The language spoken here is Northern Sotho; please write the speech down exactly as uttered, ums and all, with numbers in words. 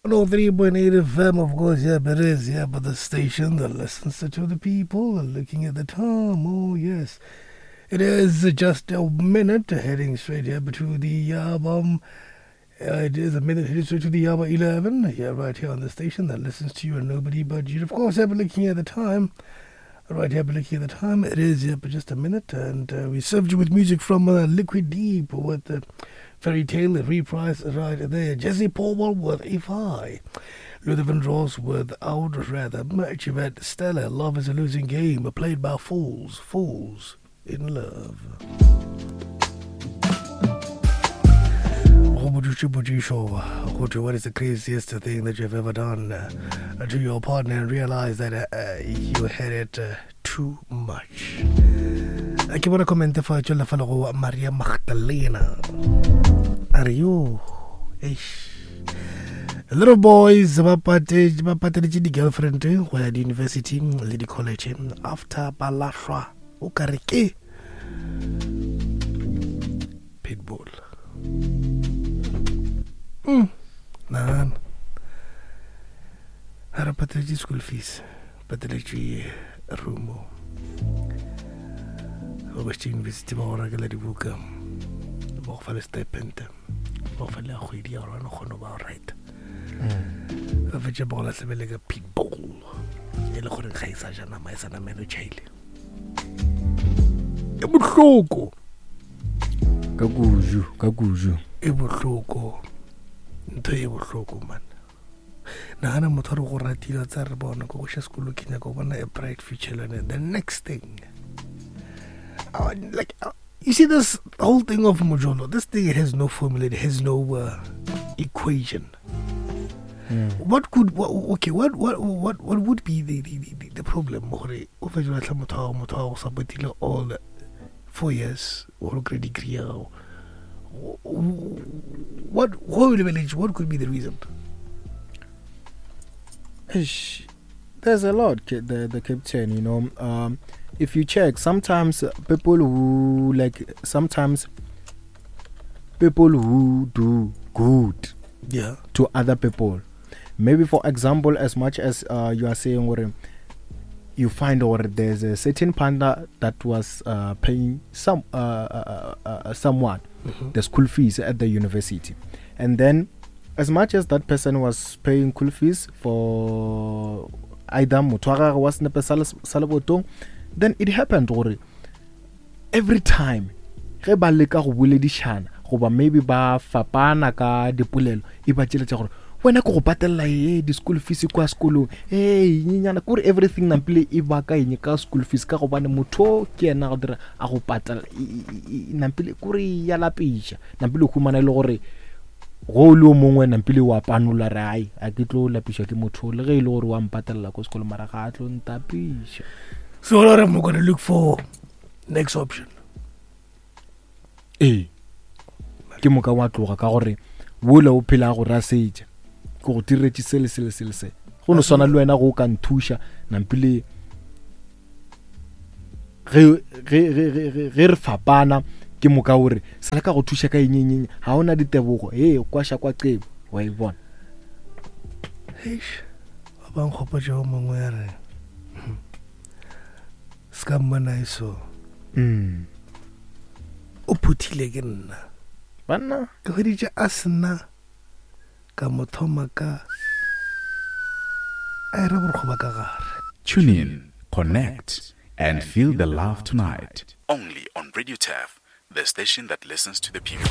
one oh three point eight F M, of course, yeah, it is, yeah, but the station that listens to the people and looking at the time, oh yes. It is just a minute heading straight here to the um, uh, it is a minute heading straight to the hour eleven, yeah, right here on the station that listens to you and nobody but you. Of course, yeah, but looking at the time, right here, but looking at the time, it is, yeah, but just a minute, and uh, we served you with music from uh, Liquid Deep with the Fairy Tale reprise right there. Jesse Powell with If I, Luther Vandross with Out Rather, Chivette Stella, Love is a Losing Game, played by Fools, Fools in Love. What is the craziest thing that you've ever done uh, to your partner and realize that uh, you had it uh, too much? Ke bona comment fa tšwela fa le go Maria Magdalena. Are you? Eish. Little boys ba pate ba pateletše di-girlfriend go ya di-university le di-college after ba lahlwa o ka re ke pitbull. Mm. Nagana ga re pateletše school fees, pateletše room, ba bašitše university ba go rekela dibuka, ba go fa le stipend, ba go fa le ya kgwedi ya gore ba kgone go ba right. Ba fetše ba go lahlebele ka pitbull e le gore ga e sa ja nama, e sa namelo tšhaile. E bohloko ka kuju, ka kuju e bohloko, ntho e bohloko man. Nagana motho a re go ratile tsa re bona ko go ša sekolo ke nyaka go bona a bright future le the next thing. Uh, like uh, you see this whole thing of mojolo, this thing, it has no formula, it has no uh, equation. Mm. What could what, okay what what what what would be the the the, the problem gore o fetše lahla motho wa motho wa go supportile all four years or grade degree? What what could be the reason? There's a lot, the the captain, you know. Um, if you check, sometimes people who like sometimes people who do good, yeah, to other people. Maybe for example, as much as uh, you are saying, or you find or there's a certain panda that was uh, paying some uh, uh, uh, someone mm-hmm. the school fees at the university, and then as much as that person was paying school fees for either motho wa gagwe wa senepe sa lebotong, then it happened gore every time ge ba leka go boledišana goba maybe ba fapana ka dipolelo, e ba tšeletša gore wena ke go patella e di-school fees kwa sekolong, e nyenyana kore everything nampile e baka eng ka school fees, ka gobane motho ke yena go dira a go patela nampile kore ya lapiša, nampile o humana e le gore go le o mongwe nampile wa panola re ai a ke tlo lapiša ke motho le ge e le gore wa mpatella ko sekolo mara ga a tlo ntapiša. So what I'm going to look for next option. Ee, ke moka wa tloga ka gore wola o phela go rasetša ke go diretše se le se le se le se go no swana le wena go ka nthuša nampile ge ge ge ge re fapana ke moka ore sala ka go thuša ka eng eng ga ona ditebogo e kwasha kwa qebo wa e bona. Eish, ba bang gopotša o mongwe ya re ska mmona eso mm o phuthile ke nna banna ke hweditše a sena ka mo thoma ka a era borokgo ba ka gare. Tune in, connect and feel the love tonight. Only on Radio Turf, the station that listens to the people.